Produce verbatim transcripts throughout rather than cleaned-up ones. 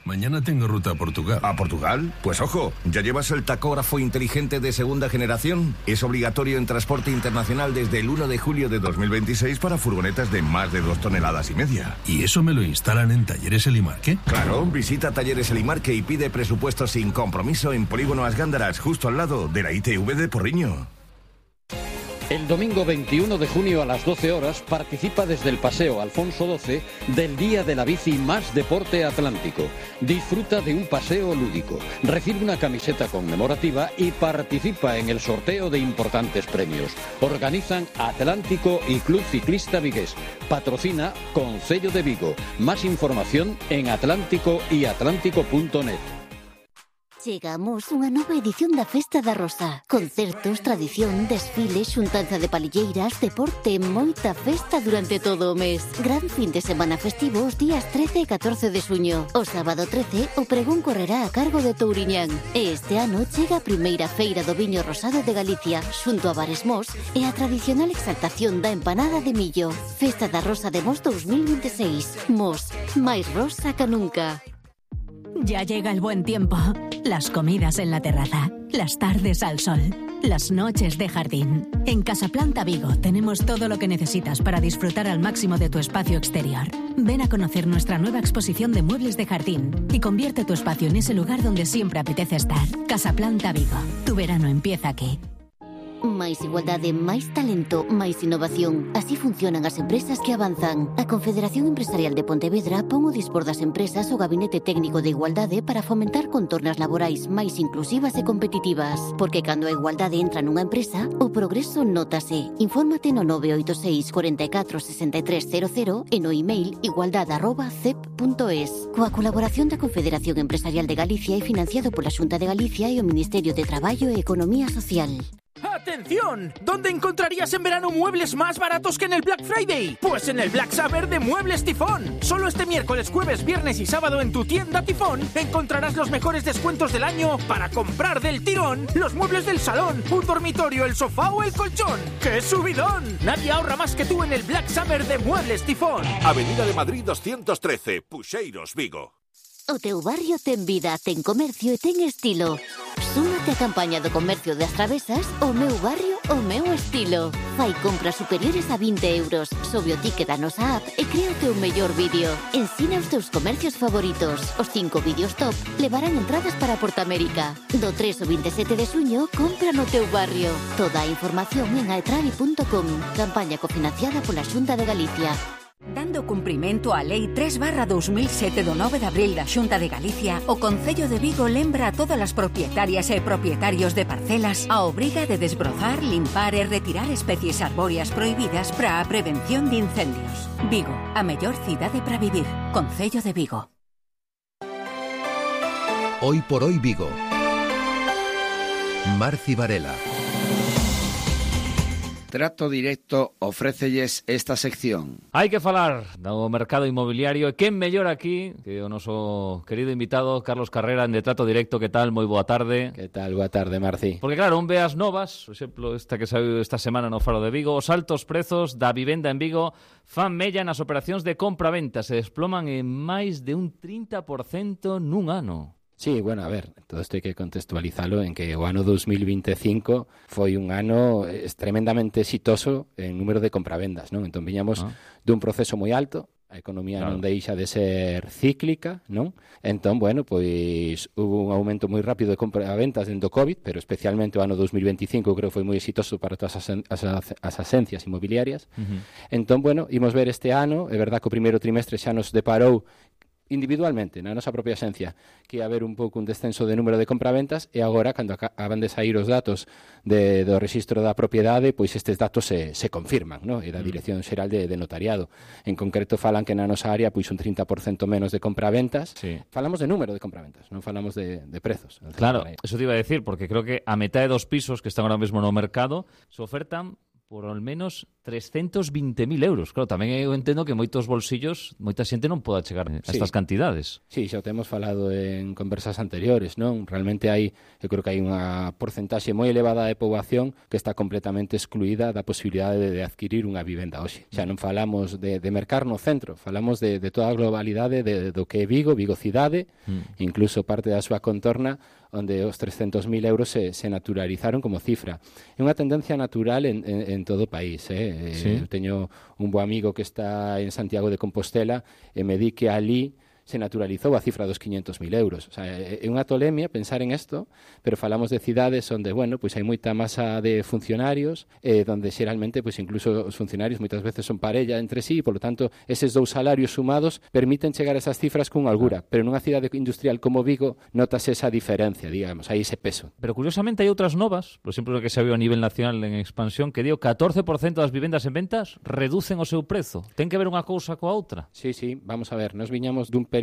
Mañana tengo ruta a Portugal. ¿A Portugal? Pues ojo, ¿ya llevas el tacógrafo inteligente de segunda generación? Es obligatorio en transporte internacional desde el uno de julio de dos mil veintiséis para furgonetas de más de dos toneladas y media. ¿Y eso me lo instalan en Talleres Elimarque? Claro, visita Talleres Elimarque y pide presupuesto sin compromiso en Polígono As Gándaras, justo al lado de la I T V de Porriño. El domingo veintiuno de junio a las doce horas participa desde el Paseo Alfonso doce del Día de la Bici Más Deporte Atlántico. Disfruta de un paseo lúdico, recibe una camiseta conmemorativa y participa en el sorteo de importantes premios. Organizan Atlántico y Club Ciclista Vigués. Patrocina Concello de Vigo. Más información en atlántico y atlántico punto net. Chegamos unha nova edición da Festa da Rosa. Concertos, tradición, desfiles, xuntanza de palilleiras, deporte, moita festa durante todo o mes. Gran fin de semana festivo os días trece e catorce de xuño. O sábado trece, o pregón correrá a cargo de Touriñán. E este ano chega a primeira feira do viño rosado de Galicia, xunto a Bares Mos e a tradicional exaltación da empanada de millo. Festa da Rosa de Mos dos mil veintiséis. Mos, máis rosa que nunca. Ya llega el buen tiempo. Las comidas en la terraza, las tardes al sol, las noches de jardín. En Casaplanta Vigo tenemos todo lo que necesitas para disfrutar al máximo de tu espacio exterior. Ven a conocer nuestra nueva exposición de muebles de jardín y convierte tu espacio en ese lugar donde siempre apetece estar. Casaplanta Vigo. Tu verano empieza aquí. Máis igualdade, máis talento, máis innovación. Así funcionan as empresas que avanzan. A Confederación Empresarial de Pontevedra pon o dispor das empresas o Gabinete Técnico de Igualdade para fomentar contornas laborais máis inclusivas e competitivas. Porque cando a igualdade entra nunha empresa, o progreso nótase. Infórmate no nove oito seis, cuatro catro, seis tres cero cero e no email igualdade arroba cep punto es. Coa colaboración da Confederación Empresarial de Galicia e financiado pola Xunta de Galicia e o Ministerio de Traballo e Economía Social. ¡Atención! ¿Dónde encontrarías en verano muebles más baratos que en el Black Friday? Pues en el Black Summer de Muebles Tifón. Solo este miércoles, jueves, viernes y sábado en tu tienda Tifón encontrarás los mejores descuentos del año para comprar del tirón los muebles del salón, un dormitorio, el sofá o el colchón. ¡Qué subidón! Nadie ahorra más que tú en el Black Summer de Muebles Tifón. Avenida de Madrid doscientos trece, Puxeiros, Vigo. O teu barrio ten vida, ten comercio e ten estilo. Súmate a campaña do comercio das Travesas, o meu barrio, o meu estilo. Fai compras superiores a vinte euros, sobe o ticket da nosa app e crea o teu mellor vídeo. Ensina os teus comercios favoritos. Os cinco vídeos top levarán entradas para Portamérica. Do tres ao veintisiete de xuño, compra no teu barrio. Toda a información en aetravi punto com. Campaña cofinanciada pola Xunta de Galicia. Dando cumprimento á Lei tres barra dos mil sete do nove de abril da Xunta de Galicia, o Concello de Vigo lembra a todas as propietarias e propietarios de parcelas a obriga de desbrozar, limpar e retirar especies arbóreas prohibidas para a prevención de incendios. Vigo, a mellor cidade para vivir. Concello de Vigo. Hoy por hoy Vigo. Marci Varela. Trato Directo ofrécelles esta sección. Hai que falar do mercado inmobiliario e quen mellor aquí que o noso querido invitado Carlos Carrera en de Trato Directo. Que tal? Moi boa tarde. Que tal? Boa tarde, Marci. Porque claro, un ve as novas, por exemplo, esta que saiu esta semana no Faro de Vigo, os altos prezos da vivenda en Vigo fan mella nas operacións de compra-venta, se desploman en máis de un trinta por cento nun ano. Sí, bueno, a ver, todo isto hai que contextualizalo en que o ano dos mil veinticinco foi un ano tremendamente exitoso en número de compravendas, non? Entón viñamos ah. dun proceso moi alto, a economía claro. non deixa de ser cíclica, non? Entón, bueno, pois hubo un aumento moi rápido de compraventas dentro do COVID, pero especialmente o ano dos mil veinticinco creo que foi moi exitoso para todas as, as, as asencias inmobiliarias. Uh-huh. Entón, bueno, imos ver este ano, é verdad que o primeiro trimestre xa nos deparou individualmente, na nosa propia esencia, que ia haber un pouco un descenso de número de compraventas e agora, cando acaban de sair os datos de, do rexistro da propiedade, pois estes datos se, se confirman, no? E da Dirección Xeral de, de Notariado. En concreto, falan que na nosa área pois un trinta por cento menos de compraventas. Sí. Falamos de número de compraventas, non falamos de, de prezos. Claro, eso te iba a decir, porque creo que a metade dos pisos que están ahora mesmo no mercado se ofertan por ao menos trescentos vinte mil euros. Claro, tamén eu entendo que moitos bolsillos, moita xente non poda chegar a sí. estas cantidades. Sí, xa o temos falado en conversas anteriores, non? Realmente hai, eu creo que hai unha porcentaxe moi elevada de poboación que está completamente excluída da posibilidade de, de adquirir unha vivenda hoxe. Xa non falamos de, de mercar no centro, falamos de, de toda a globalidade de, de, do que é Vigo, Vigo cidade, mm. incluso parte da súa contorna, onde os trescentos mil euros se, se naturalizaron como cifra. É unha tendencia natural en, en, en todo o país. Eh? Sí. Eu teño un bo amigo que está en Santiago de Compostela e me di que ali se naturalizou a cifra dos quinhentos mil euros. O sea, é unha tolemia pensar en isto, pero falamos de cidades onde, bueno, pois hai moita masa de funcionarios, eh, donde xeralmente, pois incluso os funcionarios moitas veces son parella entre sí, e, polo tanto, eses dous salarios sumados permiten chegar a esas cifras con holgura, pero nunha cidade industrial como Vigo notase esa diferencia, digamos, hai ese peso. Pero curiosamente hai outras novas, por exemplo, que se viu a nivel nacional en expansión, que dio catorce por cento das vivendas en ventas reducen o seu prezo. Ten que ver unha cousa coa outra? Sí, sí, vamos a ver, nos viñamos dun período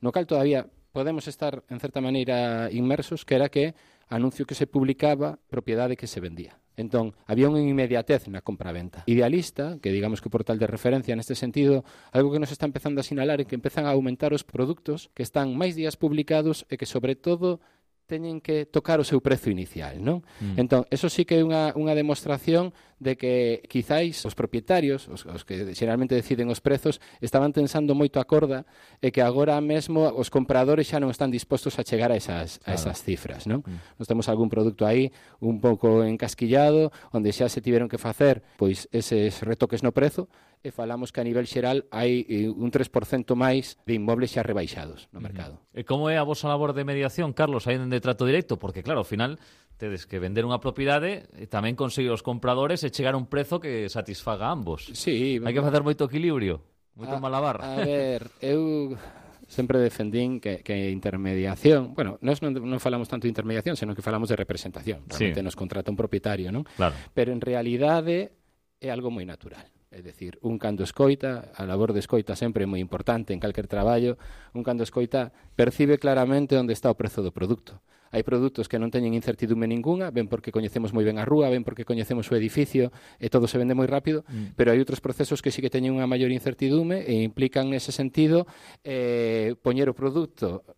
no cal todavía podemos estar, en certa maneira, inmersos, que era que anuncio que se publicaba, propiedade que se vendía. Entón, había unha inmediatez na compra-venta. Idealista, que digamos que o portal de referencia neste sentido, algo que nos está empezando a sinalar é que empezan a aumentar os produtos que están máis días publicados e que, sobre todo, teñen que tocar o seu prezo inicial, non? Mm. Entón, eso sí que é unha, unha demostración de que quizáis os propietarios, os, os que xeralmente deciden os prezos, estaban tensando moito a corda e que agora mesmo os compradores xa non están dispostos a chegar a esas, claro. a esas cifras, non? Mm. Nos temos algún produto aí un pouco encasquillado, onde xa se tiveron que facer pois eses retoques no prezo, e falamos que a nivel xeral hai un tres por cento máis de inmobles xa rebaixados no mercado. E como é a vosa labor de mediación, Carlos, aí de trato directo? Porque, claro, ao final tedes que vender unha propiedade e tamén conseguir os compradores e chegar a un prezo que satisfaga a ambos. Sí. Hai que facer moito equilibrio, moito a, malabar. A ver, eu sempre defendín que, que intermediación, bueno, nós non, non falamos tanto de intermediación, senón que falamos de representación. Realmente sí. Nos contrata un propietario, non? Claro. Pero en realidade é algo moi natural. É dicir, un cando escoita, a labor de escoita sempre é moi importante en calquer traballo, un cando escoita percibe claramente onde está o prezo do produto. Hai produtos que non teñen incertidume ninguna, ben porque coñecemos moi ben a rúa, ben porque coñecemos o edificio e todo se vende moi rápido, mm. pero hai outros procesos que sí que teñen unha maior incertidume e implican nese sentido eh, poñer o produto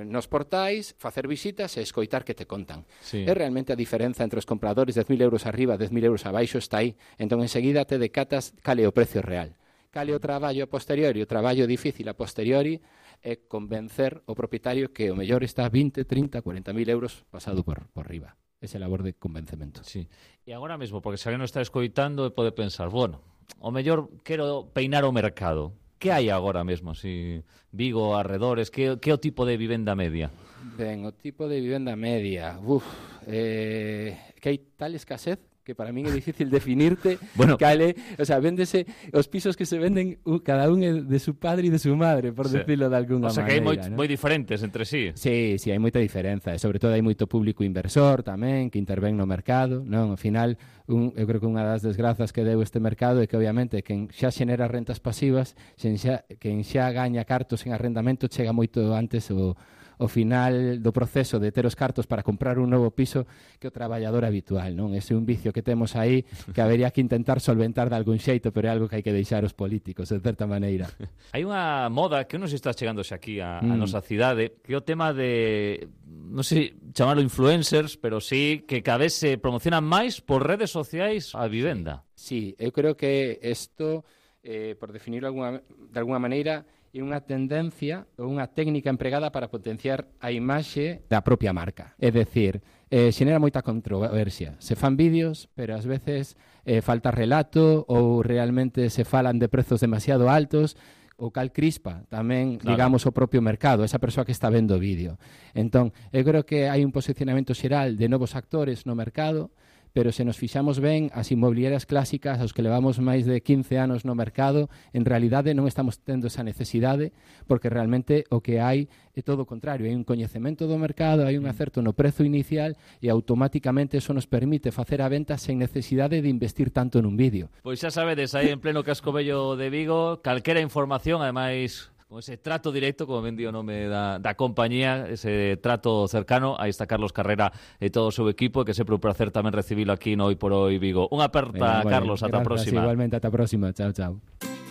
nos portais, facer visitas e escoitar que te contan. Sí. É realmente a diferenza entre os compradores dez mil euros arriba, dez mil euros abaixo, está aí. Entón, enseguida te decatas cal é o precio real. Cal é o traballo a posteriori, o traballo difícil a posteriori é convencer o propietario que o mellor está vinte, trinta, cuarenta mil euros pasado por, por riba. Esa labor de convencemento. Sí. E agora mesmo, porque se alguén non está escoitando e pode pensar, bueno, o mellor quero peinar o mercado. Que hai agora mesmo, si Vigo, arredores, que, que o tipo de vivenda media? Ben, o tipo de vivenda media, uf, eh, que hai tal escasez que para min é difícil definirte bueno. Cale, o sea, véndese os pisos que se venden uh, cada un de su padre e de su madre, por sí. decirlo de alguna maneira. O sea, que hai moi, ¿no? moi diferentes entre sí. Sí, sí, hai moita diferenza, e sobre todo hai moito público inversor tamén que intervén no mercado, non? Ao final, un, eu creo que unha das desgrazas que deu este mercado é que obviamente quen xa xenera rentas pasivas, quen xa, quen xa gaña cartos en arrendamento chega moito antes o o final do proceso de ter os cartos para comprar un novo piso que o traballador habitual, non? Ese é un vicio que temos aí que habería que intentar solventar de algún xeito, pero é algo que hai que deixar os políticos, de certa maneira. Hai unha moda que non se está chegándose aquí a, mm. a nosa cidade, que é o tema de, non sei chamarlo influencers, pero sí que cada vez se promocionan máis por redes sociais a vivenda. Sí, eu creo que isto, eh, por definirlo alguna, de alguna maneira, é unha tendencia ou unha técnica empregada para potenciar a imaxe da propia marca. É dicir, eh, xenera moita controversia. Se fan vídeos, pero ás veces eh, falta relato ou realmente se falan de prezos demasiado altos, o cal crispa tamén, claro. digamos, o propio mercado, esa persoa que está vendo o vídeo. Entón, eu creo que hai un posicionamento xeral de novos actores no mercado, pero se nos fixamos ben, as inmobiliarias clásicas, aos que levamos máis de quince anos no mercado, en realidade non estamos tendo esa necesidade, porque realmente o que hai é todo o contrario, hai un coñecemento do mercado, hai un acerto no prezo inicial e automáticamente eso nos permite facer a venta sen necesidade de investir tanto nun vídeo. Pois xa sabedes, aí en pleno casco vello de Vigo, calquera información, ademais con ese trato directo, como ben di o nome da, da compañía, ese trato cercano. Aí está Carlos Carrera e todo o seu equipo, que sempre un placer tamén recibilo aquí no Hoy por Hoy Vigo. Unha aperta, vale, Carlos, ata a próxima. Igualmente, ata a próxima. Chao, chao.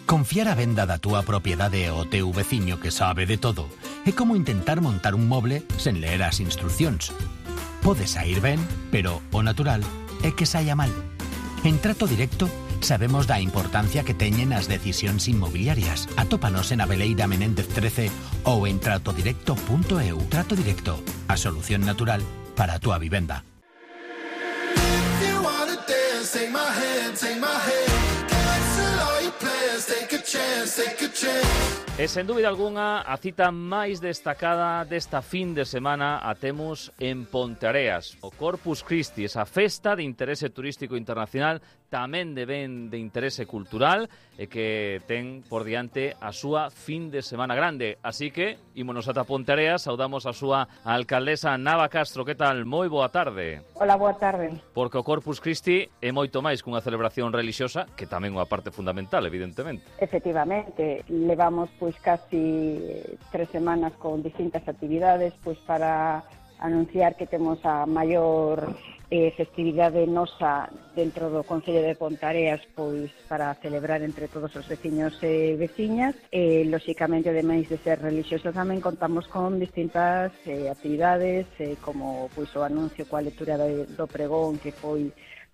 Confiar a venda da túa propiedade ao teu veciño que sabe de todo é como intentar montar un moble sen ler as instruccións. Pode sair ben, pero o natural é que saia mal. En Trato Directo sabemos da importancia que teñen as decisións inmobiliarias. Atópanos en Abeleira Menéndez trece ou en trato directo punto e u. Trato Directo, a solución natural para a túa vivenda. E sen dúbida algunha, a cita máis destacada desta fin de semana a temos en Ponteareas, o Corpus Christi, esa festa de interese turístico internacional, tamén de ben de interese cultural, e que ten por diante a súa fin de semana grande. Así que, ímonos ata Ponteareas, saudamos a súa alcaldesa Nava Castro. Que tal? Moi boa tarde. Hola, boa tarde. Porque o Corpus Christi é moito máis que unha celebración relixiosa, que tamén é unha parte fundamental, evidentemente. Efectivamente, levamos pois casi tres semanas con distintas actividades pois para anunciar que temos a maior eh, festividade nosa dentro do Concello de Ponteareas pois para celebrar entre todos os veciños e veciñas. E, lóxicamente, ademais de ser relixioso, tamén contamos con distintas eh, actividades, eh, como pois o anuncio coa lectura do, do pregón que foi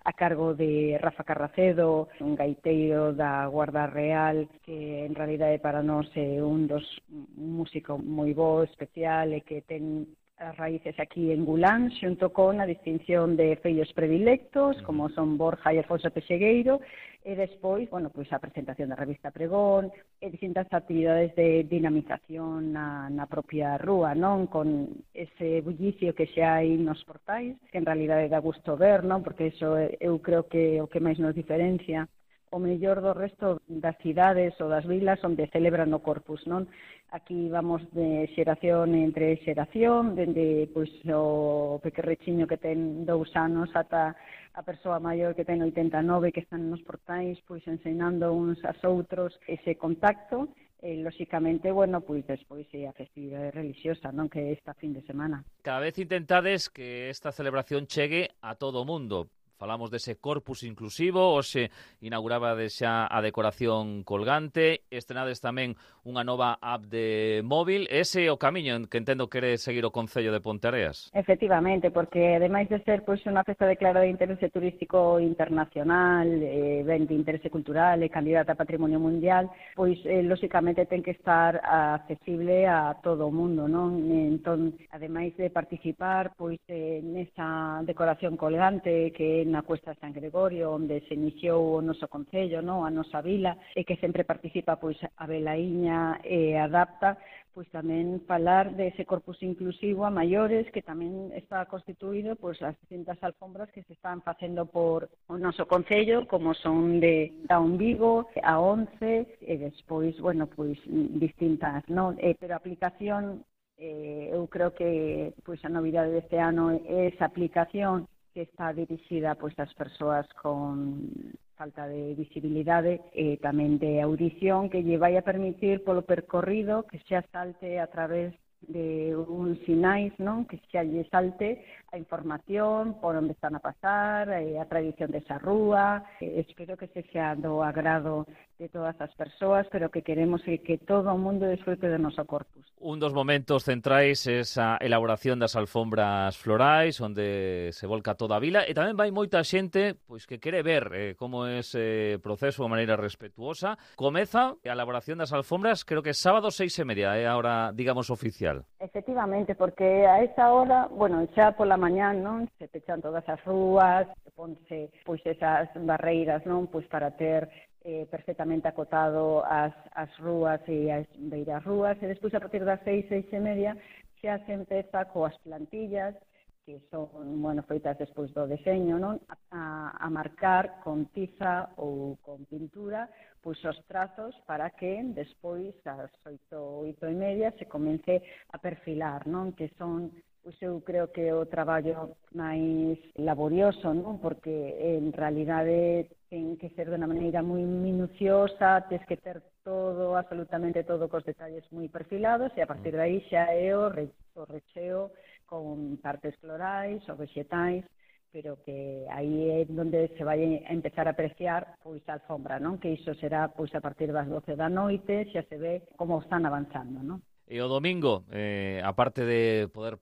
a cargo de Rafa Carracedo, un gaiteiro da Guarda Real, que en realidade para nós é un dos un músico moi bo, especial, e que ten as raíces aquí en Gulán, xunto con a distinción de fillos predilectos, como son Borja e Alfonso Pexegueiro, e despois, bueno, pois a presentación da revista Pregón, e distintas actividades de dinamización na, na propia rúa, non? Con ese bullicio que xa hai nos portais, que en realidade dá gusto ver, non? Porque iso eu creo que o que máis nos diferencia o mellor do resto das cidades ou das vilas onde celebran o Corpus, non? Aquí vamos de xeración entre xeración, dende pois o pequerrechiño que ten dous anos ata a persoa maior que ten oitenta e nove, que están nos portais pois ensinando uns aos outros ese contacto. E, lóxicamente, bueno, pois despois é a festividade relixiosa, non? Que é esta fin de semana. Cada vez intentades que esta celebración chegue a todo o mundo. Falamos dese Corpus inclusivo, hoxe inaugurabades xa a decoración colgante, estrenades tamén unha nova app de móvil. Ese é o camiño que entendo quere seguir o Concello de Ponteareas. Efectivamente, porque ademais de ser pois unha festa declarada de interese turístico internacional, eh, ben de interese cultural e candidata a Patrimonio Mundial, pois eh, lóxicamente ten que estar accesible a todo o mundo, non? Entón, ademais de participar pois eh, nesa decoración colgante que na Cuesta de San Gregorio, onde se iniciou o noso concello, no? A nosa vila, e que sempre participa pois a Velaíña e adapta, pois tamén falar dese Corpus inclusivo a maiores, que tamén está constituído pois as distintas alfombras que se están facendo por o noso concello, como son de Daun Vigo, a once, e despois, bueno, pois distintas, non? Eh, pero a aplicación, eh, eu creo que pois a novidade deste ano é esa aplicación que está dirixida pois ás persoas con falta de visibilidade e tamén de audición, que lle vai a permitir polo percorrido que xa salte a través de un sinais, non? Que xa lle salte a información por onde están a pasar, a tradición desa rúa. Espero que se xa do agrado de todas as persoas, pero que queremos que, que todo o mundo desfrute do noso Corpus. Un dos momentos centrais é esa elaboración das alfombras florais, onde se volca toda a vila, e tamén vai moita xente pois que quere ver eh, como é ese proceso de maneira respetuosa. Comeza a elaboración das alfombras, creo que sábado seis e media, é a hora, digamos, oficial. Efectivamente, porque a esa hora, bueno, xa pola mañán, non? Se pechan todas as rúas, se ponse pois esas barreiras, non? Pois para ter eh, perfectamente acotado as, as rúas e as beiras rúas, e despois a partir das seis, seis e media xa se empeza coas plantillas, que son, bueno, feitas despois do deseño, non? A, a marcar con tiza ou con pintura pois os trazos para que despois ás oito, oito e media se comece a perfilar, non? Que son, pois eu creo que o traballo máis laborioso, non? Porque en realidade ten que ser de unha maneira moi minuciosa, tes que ter todo, absolutamente todo, cos detalles moi perfilados, e a partir de aí xa é o, re, o recheo con partes florais ou vegetais, pero que aí é onde se vai a empezar a apreciar pois a alfombra, non? Que iso será pois a partir das doce da noite, xa se ve como están avanzando, non? E o domingo, eh, aparte de poder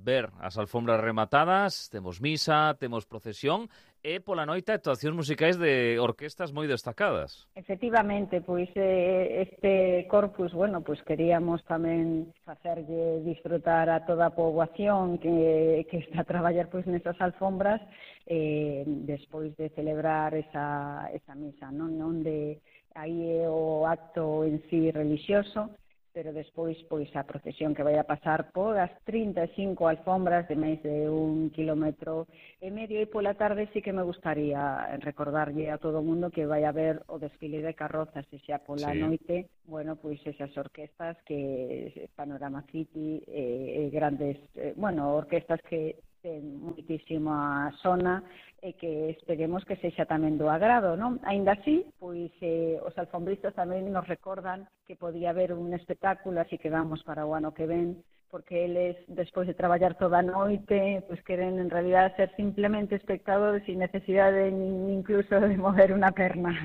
ver as alfombras rematadas, temos misa, temos procesión e pola noite actuacións musicais de orquestas moi destacadas. Efectivamente, pois este corpus, bueno, pois queríamos tamén facerlle disfrutar a toda a poboación que, que está a traballar pois nesas alfombras eh, despois de celebrar esa, esa misa, non? Onde aí é o acto en sí religioso, pero despois pois a procesión que vai a pasar por as trinta e cinco alfombras de máis de un kilómetro e medio, e pola tarde sí que me gustaría recordarlle a todo o mundo que vai a ver o desfile de carrozas, e xa pola sí. noite, bueno, pois esas orquestas que Panorama City, eh, grandes, eh, bueno, orquestas que ten moitísima zona e que esperemos que sexa tamén do agrado, non? Aínda así, pois eh, os alfombristas tamén nos recordan que podía haber un espectáculo, así que vamos para o ano que ven, porque eles, despois de traballar toda a noite, pois queren en realidad ser simplemente espectadores sin necesidade nin incluso de mover unha perna.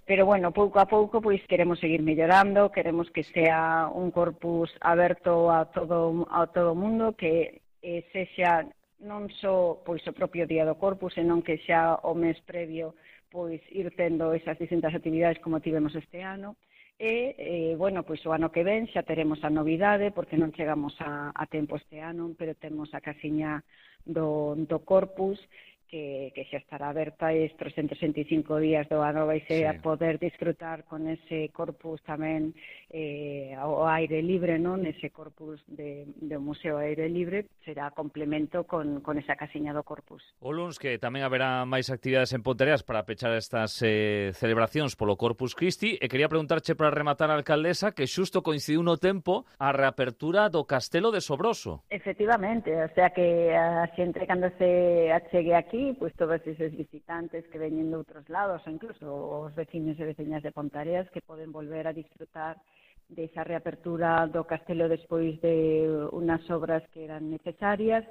Pero bueno, pouco a pouco pois queremos seguir mellorando, queremos que sea un corpus aberto a todo a todo o mundo, que eh, sexa non só pois o propio día do corpus, senón que xa o mes previo pois ir tendo esas distintas actividades como tivemos este ano. E, eh, bueno, pois o ano que ven xa teremos a novidade, porque non chegamos a, a tempo este ano, pero temos a casiña do, do corpus, que, que xa estará aberta e estes trescentos sesenta e cinco días do ano vai ser sí. a poder disfrutar con ese corpus tamén eh, ao aire libre, non? Ese corpus de, de Museo Aire Libre será complemento con, con esa casiña do corpus. O luns que tamén haberá máis actividades en Pontereas para pechar estas eh, celebracións polo Corpus Christi, e quería preguntarche para rematar a alcaldesa que xusto coincidiu no tempo a reapertura do Castelo de Sobroso. Efectivamente, o sea que a xente cando se achegue aquí, pois todos esos visitantes que veñen de outros lados, ou incluso os veciños e veciñas de Ponteareas, que poden volver a disfrutar desa reapertura do castelo despois de unhas obras que eran necesarias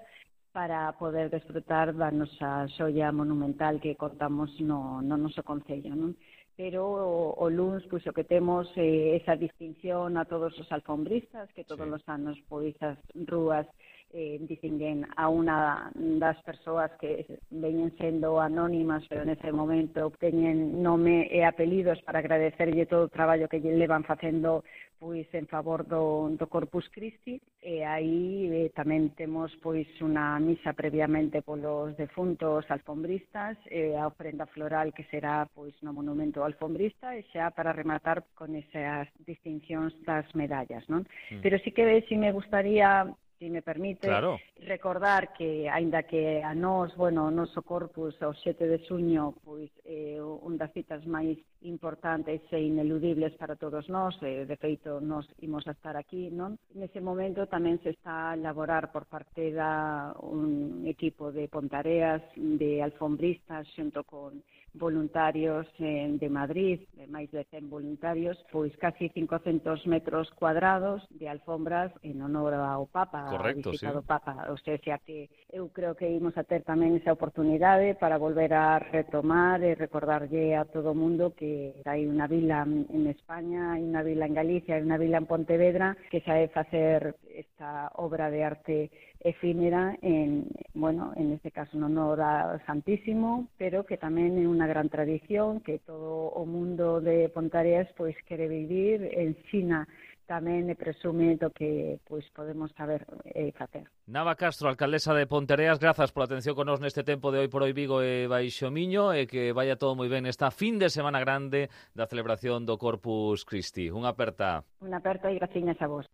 para poder disfrutar da nosa xoia monumental que contamos no, no noso concello, non? Pero o, o luns, pois o que temos é eh, esa distinción a todos os alfombristas, que todos sí. os anos pois as rúas eh, distinguen a unha das persoas que veñen sendo anónimas, pero nese momento teñen nome e apelidos para agradecerlle todo o traballo que lle levan facendo pois en favor do, do Corpus Christi, e aí eh, tamén temos pois unha misa previamente polos defuntos alfombristas, e a ofrenda floral que será pois no monumento alfombrista, e xa para rematar con esas distincións das medallas, non? Mm. Pero sí que si me gustaría, si me permite, claro. recordar que, aínda que a nós, bueno, o noso corpus, o sete de xuño, pois, é eh, un das citas máis importantes e ineludibles para todos nós, e, de feito, nós imos a estar aquí, non? Nese momento tamén se está a elaborar por parte da un equipo de Pontareas, de alfombristas, xunto con voluntarios eh, de Madrid, de máis de cen voluntarios, pois casi cincocentos metros cuadrados de alfombras en honor ao Papa, correcto, a visita sí. do Papa. O sea, xa que eu creo que imos a ter tamén esa oportunidade para volver a retomar e recordarlle a todo o mundo que hai unha vila en España, hai unha vila en Galicia, hai unha vila en Pontevedra que sabe facer esta obra de arte efímera en, bueno, en este caso en honor ao Santísimo, pero que tamén é unha gran tradición que todo o mundo de Pontareas pois quere vivir, ensina tamén e presume do que pois podemos saber e facer. Nava Castro, alcaldesa de Pontereas, grazas pola atención con nós neste tempo de Hoy por Hoy Vigo e Baixo Miño, e que vaya todo moi ben esta fin de semana grande da celebración do Corpus Christi. Unha aperta. Unha aperta e graciñas a vos.